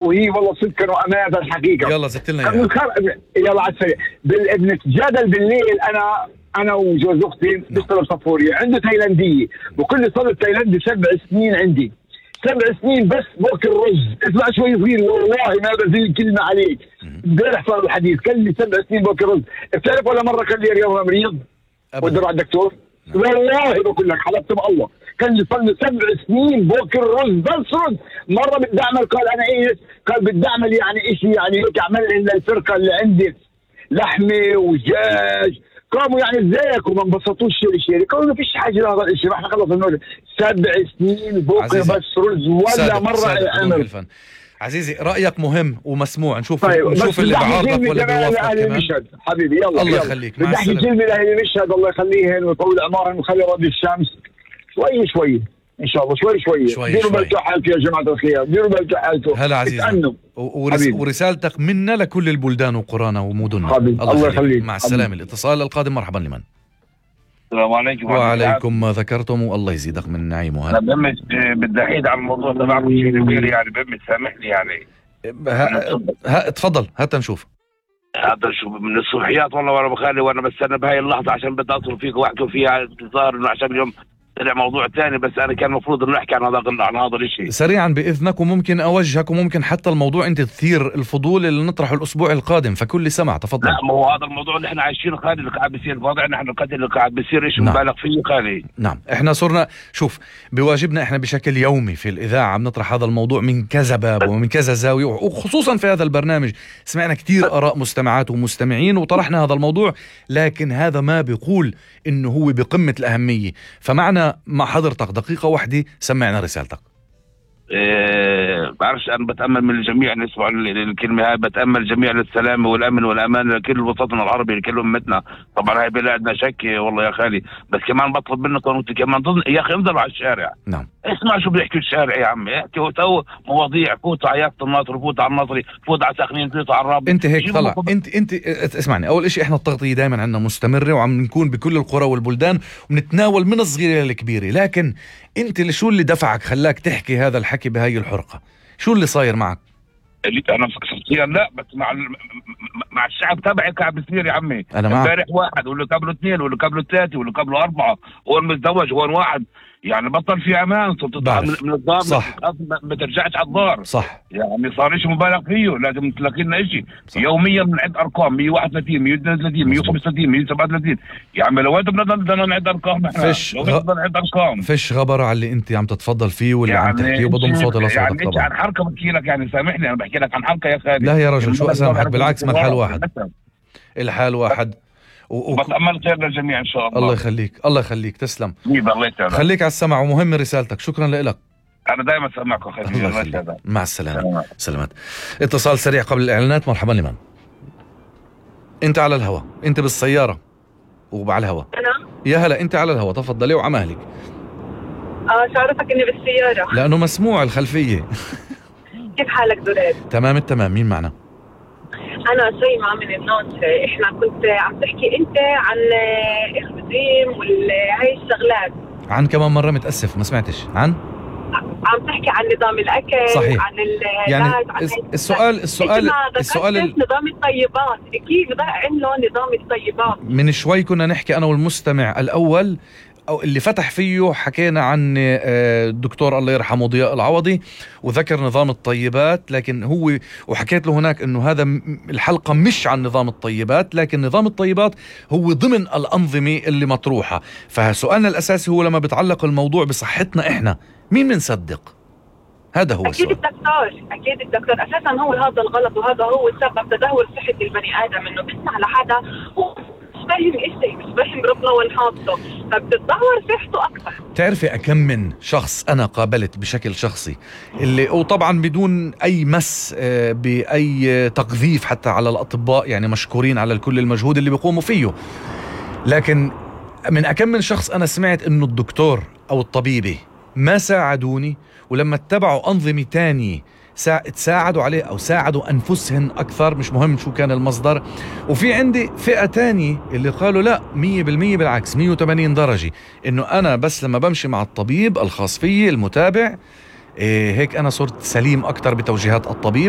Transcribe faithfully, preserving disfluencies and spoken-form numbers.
وهي والله صدقا وامانه الحقيقه. يلا زدت لنا اياها. يلا على السريع. بنتجادل بالليل انا انا وجوز اختي بيشتغل صفوري، عنده تايلانديه وكل صار تايلاندي سبع سنين عندي، سبع سنين بس باكل رز. اسمع شوي صغير والله ما بزيد كلمه عليك. امبارح صار الحديث كان لي سبع سنين باكل رز. بتعرف ولا مره كان لي اليوم مريض ودي على الدكتور؟ والله بقول لك حلفت بالله كان لي صار لي سبع سنين باكل رز بس رز. مره بدي اعمل قال انا ايش؟ قال بدي اعمل يعني شيء يعني هيك اعمل لنا الفرقه اللي عندي لحمه ودجاج. قاموا يعني ازيك وما انبسطوش شيء قالوا ما فيش حاجه لهذا الشيء. احنا خلص النور سبع سنين باكل بس رز ولا مره عمل. عزيزي رأيك مهم ومسموع. نشوف طيب نشوف اللي بعارضك ولا بيوافقك كمان. حبيبي يلا الله يخليك مع السلامة. بدي احكي كلمة لأهل مشهد الله يخليهن ويطول عمرهم ويخلي رد الشمس شوي شوي ان شاء الله شوي شوي. شوي ديروا بالكم حالكم يا جماعة الخير، ديروا بالكم حالكم. هلا عزيزي. ورس ورسالتك منا لكل البلدان وقرانا ومدننا. حبيبي الله يخليك. مع السلامة. الاتصال القادم مرحبا لمن؟ السلام عليكم. وعليكم ما ذكرتم والله يزيدك من نعيم وهلا. انا بمش بدي احيد عن الموضوع تبعكم شيء كبير يعني بمش سامحني يعني. ها ها تفضل هات نشوف. هذا شو من الصبحيات والله وانا بخلي وانا بستنى بهاي اللحظه عشان بدي اتصل فيك واحكي فيها. ظاهر انه عشان اليوم طلع موضوع ثاني بس انا كان المفروض انه نحكي عن هذا عن هذا الشيء سريعا باذنك وممكن اوجهك وممكن حتى الموضوع انت تثير الفضول اللي نطرحه الاسبوع القادم فكل سمع تفضل. لا ما هو هذا الموضوع اللي احنا عايشينه خالي اللي قاعد بيصير وضعنا احنا القتل اللي قاعد بيصير شيء مبالغ فيه خالي. نعم احنا صرنا شوف بواجبنا احنا بشكل يومي في الاذاعه عم نطرح هذا الموضوع من كذا باب ومن كذا زاويه وخصوصا في هذا البرنامج سمعنا كثير اراء مستمعات ومستمعين وطرحنا هذا الموضوع لكن هذا ما بيقول انه هو بقمه الاهميه. فمعنا مع حضرتك دقيقة واحدة سمعنا رسالتك. إيه بعرفش أنا بتأمل من الجميع أن يسمعوا الكلمة هاي. بتأمل الجميع للسلام والأمن والأمان لكل وسطنا العربي لكل أمتنا. طبعا هاي بلادنا شك والله يا خالي بس كمان بطلب منكم وانتم كمان ضمن يا أخي انزلوا على الشارع. نعم اسمع شو بيحكوا الشارع يا عمي. احكوا تو مواضيع فوتوا على يافط الناصر فوتوا على النصري فوتوا على ساخنين فوتوا على الرابط. انت هيك طلع انت انت اسمعني اول شيء احنا التغطية دائما عندنا مستمرة وعم نكون بكل القرى والبلدان وبنتناول من الصغيرة للكبيرة لكن انت اللي شو اللي دفعك خلاك تحكي هذا الحكي بهاي الحرقة؟ شو اللي صاير معك؟ اللي انا شخصيا لا بس مع مع الشعب تبعي قاعد بيصير يا عمي. انا معك. امبارح واحد واللي قبله اثنين واللي قبله ثلاثه واللي قبله اربعه وهو متزوج وهو واحد يعني بطل في امان صرت تطلع من الدار صح ما ترجعش على الدار صح يعني صار شيء مبالغ فيه لازم تلاقي لنا شيء يوميا بنعد ارقام مية وواحد وثلاثين مية واثنين وثلاثين مية وخمسة وثلاثين مية وسبعة وثلاثين يا عمي لو انت بدنا نعد ارقام احنا فيش لو بدنا نعد ارقام فيش غبر على اللي انت عم تتفضل فيه واللي يعني عم تحكيه وبضم صوتي لصوتك يعني طبعا. يعني عن حركه بحكي لك يعني سامحني انا بحكي لك عن حركه يا خالد. لا يا رجل شو اسامحك بالعكس ما الحال واحد الحال واحد و... بتأمل خير للجميع إن شاء الله. الله يخليك الله يخليك تسلم. الله يتعلم. خليك على السمع ومهم رسالتك شكرا لك. أنا دائما سامعك أخي. الله يخليك. مع السلامة. سلامات. اتصال سريع قبل الإعلانات. مرحبا لمن؟ أنت على الهواء أنت بالسيارة وعلى الهواء. أنا؟ يا هلا أنت على الهواء تفضلي وعمالك. آه شو عرفك إني بالسيارة؟ لأنه مسموع الخلفية. كيف حالك دولاب؟ تمام التمام. مين معنا؟ أنا شيماء من الناصرة. إحنا كنت عم تحكي أنت عن الرجيم وهي الشغلات. عن كمان مرة متأسف ما سمعتش. عن؟ عم تحكي عن نظام الأكل. صحيح. عن يعني عن السؤال السؤال السؤال السؤال نظام الطيبات كيف بقى عملوا نظام الطيبات. من شوي كنا نحكي أنا والمستمع الأول أو اللي فتح فيه حكينا عن الدكتور الله يرحمه ضياء العوضي وذكر نظام الطيبات لكن هو وحكيت له هناك انه هذا الحلقة مش عن نظام الطيبات لكن نظام الطيبات هو ضمن الأنظمة اللي مطروحة. فسؤالنا الأساسي هو لما بتعلق الموضوع بصحتنا احنا مين منصدق؟ هذا هو أكيد السؤال. الدكتور أكيد الدكتور أساسا هو هذا الغلط وهذا هو سبب تدهور صحة البني آدم إنه بيسمع لحدا هو فاهم إشي مش فاهم ربنا والحاطه فبتتدهور صحته أكثر. تعرفي أكم من شخص أنا قابلت بشكل شخصي اللي وطبعا بدون أي مس بأي تقذيف حتى على الأطباء يعني مشكورين على كل المجهود اللي بيقوموا فيه لكن من أكم من شخص أنا سمعت إنه الدكتور أو الطبيبة ما ساعدوني ولما اتبعوا أنظمة تانية تساعدوا عليه أو ساعدوا أنفسهن أكثر مش مهم شو كان المصدر. وفي عندي فئة تانية اللي قالوا لا مية بالمية بالعكس مية وثمانين درجة إنه أنا بس لما بمشي مع الطبيب الخاص فيه المتابع هيك أنا صرت سليم أكتر بتوجيهات الطبيب.